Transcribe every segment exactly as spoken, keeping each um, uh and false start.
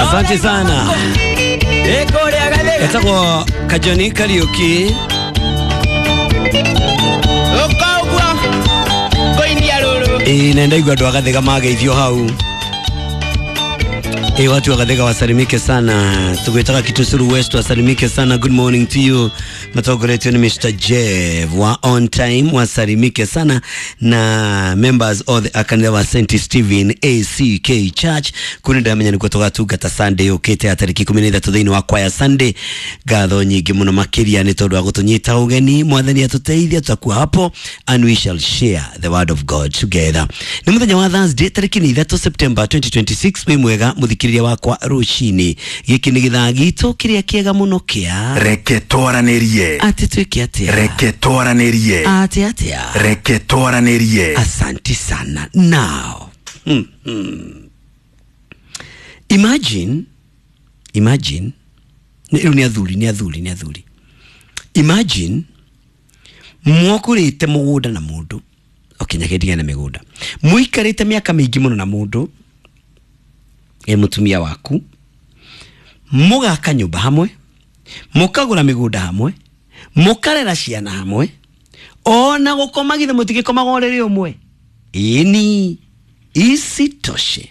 Asante sana. Etagwo Kajoni Kariuki. Ĩĩ na ndaigua andũ a Gathĩga mageithio hau. Ĩĩ watu wa Gathĩga wasalimike sana. Tugwĩtaga Kitusuru West wasalimike sana. Good morning to you. Matongoretio ni Mister Jeff wa on time wasalimike sana na members of the akanitha wa Saint Stephen A C K Church kuni ndamenya nikuo tugatungata Sunday yukite ya tariki ikumi na ithatũ thĩinĩ wa kwaya Sunday. Ngatho nyingĩ mũno makĩria nĩ tondũ wa gũtũnyita ũgeni. Mwathani atũteithia tutakuwa hapo and we shall share the word of God together. Nĩ mũthenya wa Thursday tariki nĩ ithatũ September twenty twenty-six. Wĩ mwega mũthikĩrĩria wakwa rũcinĩ. Gĩkĩ nĩ gĩthaa gitũ kĩrĩa kĩega mũno kĩa Reke twaranĩrie. Atĩ twĩke atĩa? Reke twaranĩrie. Atĩ atĩa? Reke twaranĩrie. Asante sana. Now, mm, mm. Imagine, imagine, rĩu nĩ athuri, nĩ athuri, nĩ athuri. Imagine mwakũrĩte mũgũnda na mũndũ. Okay, nyakendigana na mĩgũnda. Mũikarĩte mĩaka mĩingĩ mũno na mũndũ, e mũtumia waku, mũgaka nyũmba hamwe, mũkagũra mĩgũnda hamwe, mũkarera ciana hamwe, ona gũkoma githĩ mũtigĩkomaga ũrĩrĩ ũmwe. Ĩni, isitoshe,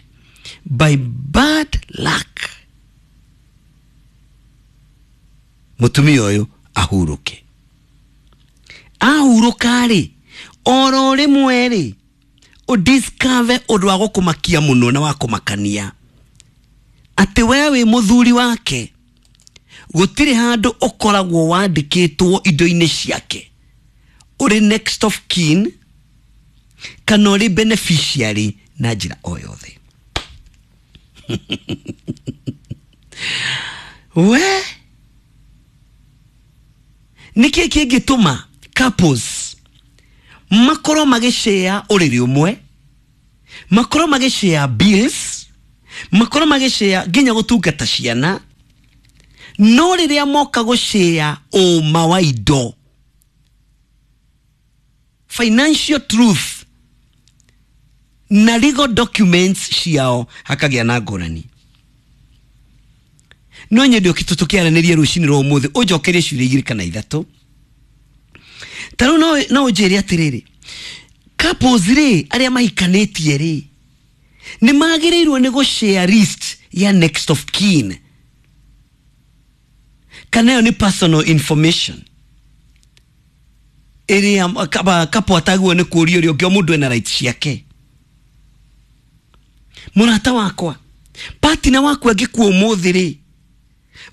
by bad luck, mũtumia ũyũ ahurũke. Ahurũka rĩ, oro rĩmwe rĩ, ũdiscover ũndũ wa gũkũmakia mũno na wa kũmakania atĩ we wĩ mũthuri wake gũtirĩ handũ ũkoragwo wandĩkĩtwo indo-inĩ ciake ũrĩ next of kin kana ũrĩ beneficiary na njĩra o yothe. We nĩkĩ kĩngĩtũma couples makorwo magĩshare ũrĩrĩ ũmwe, makorwo magĩshare bills, makorwo magĩshare nginya gũtungata ciana, no rĩrĩa moka gũshare ũma wa indo, financial truth na legal documents ciao hakagĩa na ngũrani. No nyende ũkĩ tũkĩaranĩria rũcinĩ rwa ũmũthĩ ũnjokerie ciũria igĩrĩ kana ithatũ. Ta rĩu no no ũnjĩre atĩrĩrĩ, couples rĩ arĩa mahikanĩtie rĩ nĩ magĩrĩirwo nĩ gũshare list ya next of kin kana ĩyo nĩ personal information ĩrĩa couple atagwo nĩ kũũria ũrĩa ũngĩ, o mũndũ ena right ciake. Mũrata wakwa, partner waku angĩkua ũmũthĩ rĩ,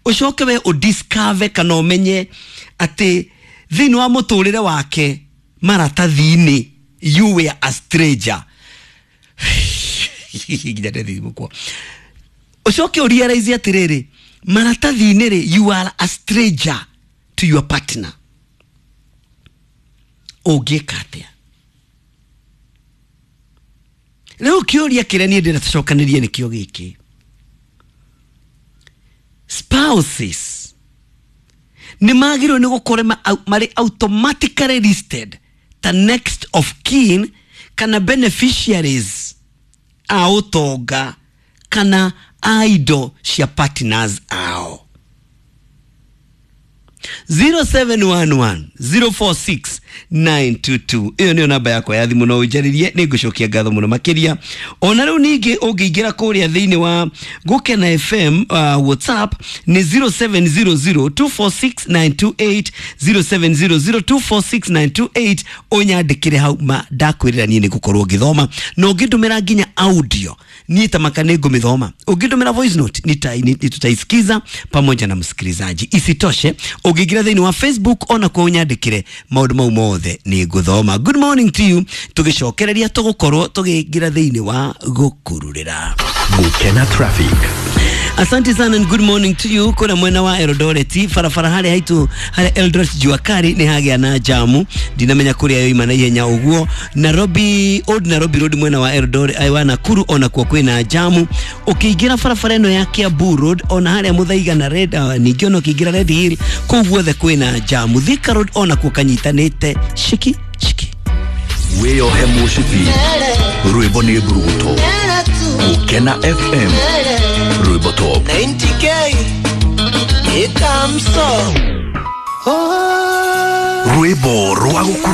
ũcoke we ũdiscover kana ũmenye atĩ thĩinĩ wa mũtũrĩre wake maratathi-inĩ you were a stranger. Nginya ndethimũkwo. Ũcoke ũrealize atĩrĩrĩ, maratathi-inĩ rĩ, you are a stranger to your partner. Ũngĩka atĩa? Rĩu kĩũria kĩrĩa niĩ ndĩrenda tũcokanĩrie nĩkĩo gĩkĩ. Spouses nĩ magĩrĩirwo nĩ gũkorwo marĩ automatically listed ta next of kin kana beneficiaries a ũtonga kana a indo cia partners ao. zero seven one one zero four six nine two two ĩyo nĩyo namba yakwa ya thimũ, no ũnjarĩrie, nĩ ngũcokia ngatho mũno makĩria. Ona rĩu ningĩ ũngĩingĩra kũrĩa thĩinĩ wa Gũkena F M uh, WhatsApp nĩ zero seven zero zero two four six nine two eight, zero seven zero zero two four six nine two eight, ũnyandĩkĩre hau ma ndakwĩrĩra niĩ nĩ ngũkorwo ngĩthoma, na ũngĩndũmĩra nginya audio niĩ ta maka nĩ ngũmĩthoma, ũngĩndũmĩra voice note nĩ tutaisikiza pamoja na msikilizaji. Isitoshe ũngĩingĩra thĩinĩ wa Facebook ona kwa ũnyandĩkĩre maũndũ mau mothe nĩ ngũthoma. Good morning to you. Tũgĩcokereria tũgũkorwo tũgĩingĩra thĩinĩ wa gũkururĩra. Gũkena traffic. Asante sana and good morning to you. Kuna mwena wa Eldoret barabara harĩa haitu harĩa Eldoret jua kali nĩ hagĩa na jamu, ndinamenya kũrĩa yoima na ihenya ũguo. Nairobi Old Nairobi Road mwena wa Eldoret wa Nakuru ona kuo kwĩna jamu. Ũkĩingĩra barabara ĩno ya Kiambu Road ona harĩa Muthaiga na Red uh, ningĩ ona ũkĩingĩra Red Hill kũu guothe kwĩna jamu. Thika Road ona kuo kanyitanĩte shiki shiki. Wĩyohe mũcibi rwĩmbo nĩ mburuguto. Gũkena F M rwĩmbo top. Rwĩmbo rwa gũkũ.